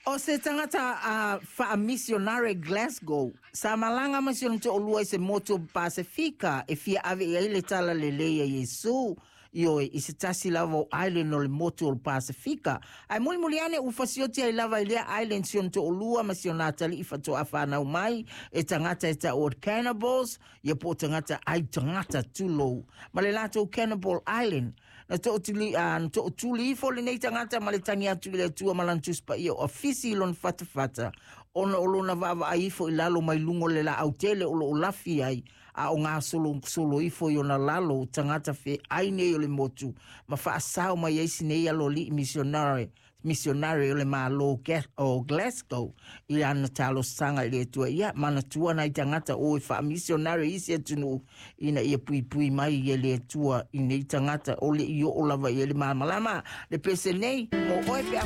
O se tagata a faamisionare Glasgow, sa malaga ma si ona toalua i se motu o Pasefika e fia ave i ai le tala lelei a Iesu, ioe, i se tasi lava o island o le motu o le Pasefika. Ae mulimuli ane ua fasioti ai lava i lea island si ona toalua ma si ona atalii faatoa fanau mai e tagata e taua o cannibals, ia po o tagata ai tagata tulou, ma le latou Cannibal Island. Na tootuli ifo lenei tagata ma le tagi atu i le Atua ma lana Tusi Paia o afisi i lona fatafata, ona o lona vaavaai ifo i lalo mai luga o le laau tele o lo o lafi ai, a o gasolosolo ifo i ona lalo o tagata feai nei o le motu, ma faasao mai ai si nei aloalii misionare o le Malo o Glasgow i lana talosaga i le Atua. Ia manatua nai tagata o e faamisionare i isi atunuu ina ia puipui mai e le Atua i nei tagata o le i oo lava i ai le malamalama. Le pese nei mo oe pe.